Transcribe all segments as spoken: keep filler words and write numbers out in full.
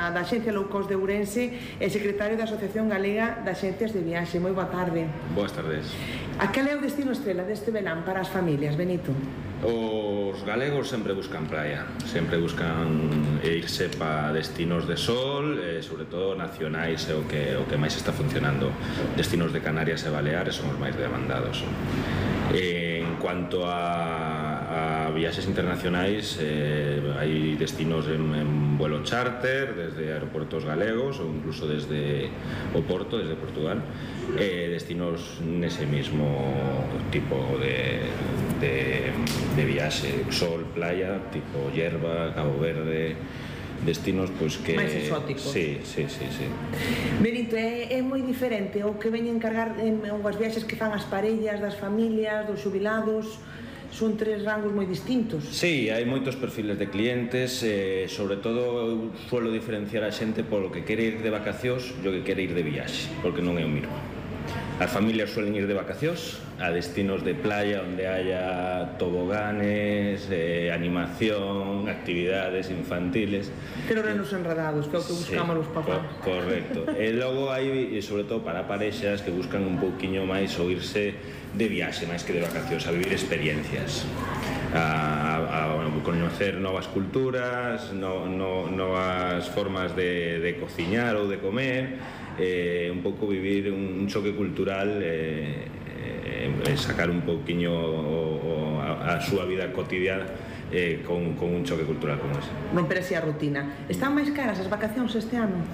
da, da Axencia Low Cost de Ourense e secretario da Asociación Galega de Axencias de Viaxe. Moi boa tarde. Boas tardes. A cal é o destino estrela deste verán para as familias, Benito? Os galegos sempre buscan praia, sempre buscan irse para destinos de sol, e sobre todo nacionais é o que, o que máis está funcionando. Destinos de Canarias e Baleares son os máis demandados. En cuanto a, a viaxes internacionais, eh, hai destinos en, en vuelo charter desde aeroportos galegos ou incluso desde o Porto, desde Portugal, eh, destinos nese mismo tipo de, de, de viaxe, sol, playa, tipo Hierba, Cabo Verde, destinos pois que... máis exóticos. Sí, sí, sí, sí. Benito, é, é moi diferente o que veñen cargar en, en as viaxes que fan as parellas, das familias, dos xubilados. Son tres rangos moi distintos. Sí, hai moitos perfiles de clientes, eh, sobre todo eu suelo diferenciar a xente polo que quere ir de vacacións e o que quere ir de viaxe, porque non é o mismo. As familias suelen ir de vacacións a destinos de playa onde haya toboganes, eh, animación, actividades infantiles. Pero renos enredados, que é o que buscamos sí, os papás. Co correcto. E logo hai, sobre todo para parexas, que buscan un pouquiño máis o irse de viaxe, máis que de vacacións, a vivir experiencias, a, a, a conocer novas culturas, no, no, novas formas de, de cociñar ou de comer, eh, un pouco vivir un, un choque cultural, eh, eh, sacar un pouquiño o, o, a, a súa vida cotidiana eh, con, con un choque cultural como ese. Romper así a rutina. Están máis caras as vacacións este ano?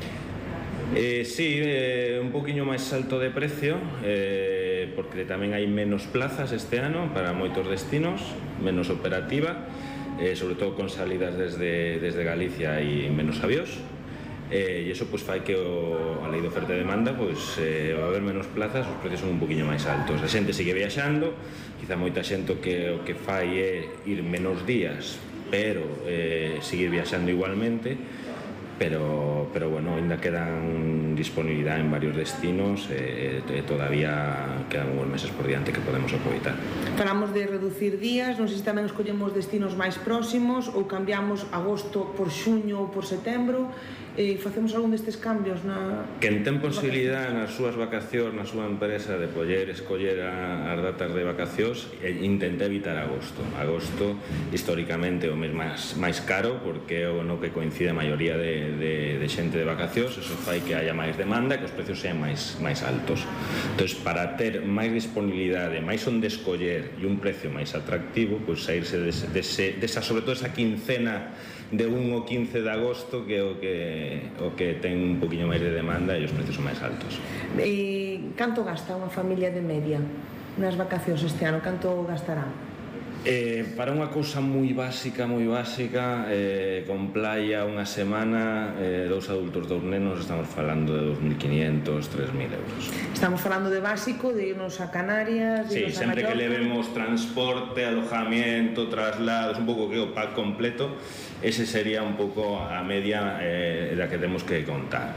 Eh, sí, eh, un poquinho máis alto de precio, eh, porque tamén hai menos plazas este ano para moitos destinos, menos operativa, eh, sobre todo con salidas desde, desde Galicia e menos avións, eh, e iso pues, fai que o, a lei de oferta e demanda pues, eh, va a haber menos plazas, os precios son un poquinho máis altos. A xente sigue viaxando, quizá moita xente o que, o que fai é ir menos días, pero eh, seguir viaxando igualmente. Pero, pero bueno, ainda quedan disponibilidade en varios destinos e eh, todavía quedan uns meses por diante que podemos aproveitar. Falamos de reducir días, non sei se tamén escollemos destinos máis próximos ou cambiamos agosto por xuño ou por setembro e facemos algún destes cambios na... Que en ten posibilidade nas súas vacacións, na súa empresa de poder escoller a, as datas de vacacións e intenta evitar agosto. Agosto históricamente é o mes máis, máis caro porque é o no que coincide a maioría de De, de xente de vacacións, eso fai que haya máis demanda e que os precios sean máis, máis altos. Entón, para ter máis disponibilidade, máis onde escoller e un precio máis atractivo, pois saírse dese, dese, desa, sobre todo esa quincena de un ou quince de agosto que é o que, o que ten un poquinho máis de demanda e os precios son máis altos. E canto gasta unha familia de media nas vacacións este ano? Canto gastará? Eh, para unha cousa moi básica, moi básica, eh, con playa unha semana, eh, dous adultos, dous nenos, estamos falando de dos mil quinhentos, tres mil euros. Estamos falando de básico, de irnos a Canarias, de sí, irnos a sempre Mallorca. Que levemos transporte, alojamiento, traslados, un pouco que o pack completo, ese sería un pouco a media eh, da que temos que contar.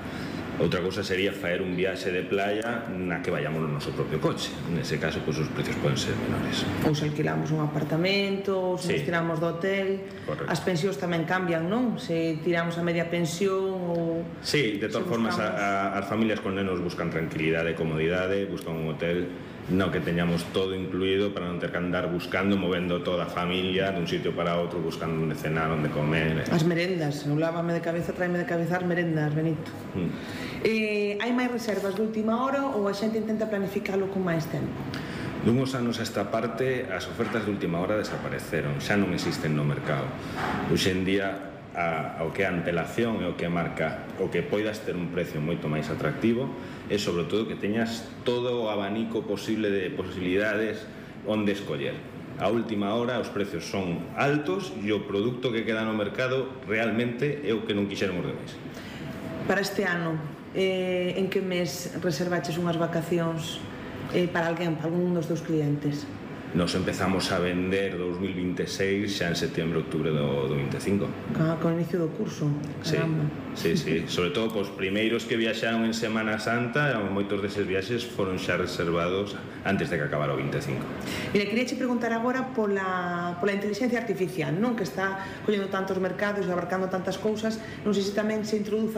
Outra cousa sería faer un viaxe de playa na que vayamos no noso propio coche. Nese caso, pois, os precios poden ser menores. Ou se alquilamos un apartamento, ou se sí. nos tiramos do hotel. Correcto. As pensións tamén cambian, non? Se tiramos a media pensión ou... Sí, de todas formas, a, a, as familias con nenos buscan tranquilidade e comodidade, buscan un hotel no que teñamos todo incluído para non ter que andar buscando, movendo toda a familia dun sitio para outro, buscando onde cenar, onde comer. As merendas, eu lávame de cabeza, traeme de cabeza as merendas, Benito. Mm. Eh, hai máis reservas de última hora ou a xente intenta planificalo con máis tempo? Dunhos anos a esta parte, as ofertas de última hora desapareceron, xa non existen no mercado. Hoxe en día, a, o que é a antelación e o que marca o que poidas ter un precio moito máis atractivo e sobre todo que teñas todo o abanico posible de posibilidades onde escoller. A última hora os precios son altos e o produto que queda no mercado realmente é o que non quixéramos de máis. Para este ano, eh, en que mes reservaches unhas vacacións eh, para alguén, para algún dos teus clientes? Nos empezamos a vender dous mil vinte e seis xa en setembro, outubro do, do vinte e cinco. Ah, con o inicio do curso. Caramba. Sí, sí, sí. Sobre todo, os primeiros que viaxaron en Semana Santa, moitos deses viaxes foron xa reservados antes de que acabara o vinte e cinco. Mira, quería che preguntar agora pola, pola inteligencia artificial, non? Que está collendo tantos mercados e abarcando tantas cousas. Non sei se tamén se introduza